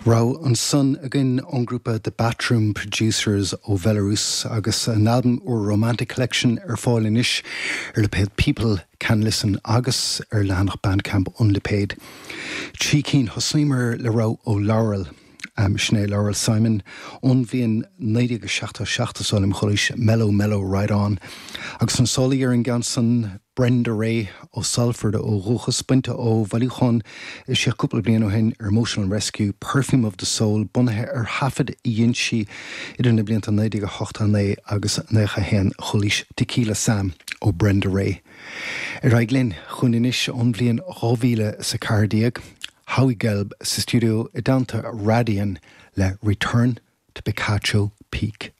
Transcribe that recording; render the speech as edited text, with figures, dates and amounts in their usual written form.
Rogha ansan againn ón ngrúpa The Batroom Producers ó Bhelarús agus a n-albam úr Romantic Collection ar fáil anois ar lipéad People Can Listen agus ar leathanach Bandcamp an lipéid. Trí cinn, thosnaíomar le rogha ó Laurel. Sin é Laurel Simon ón bhliain 1977 is dóigh liom, a Chóilís, Mellow Mellow Right On. Agus an sálaí ar an gceann san, Brenda Rae ó Salford ó dhúchas, bainte ó bhailiúchán a eisíodh cúpla bliain ó shin ar Emotional Rescue, Perfume of the Soul, bunaithe ar thaifid a dhein sí idir na blianta 1989 agus 91, a Chóilís, Tequila Sam ó Brenda Rae. Ar aghaidh linn chugainn anois ón bhliain 2014, Howie Gelb sa stiúideo i dteannta Radian le Return to Picacho Peak.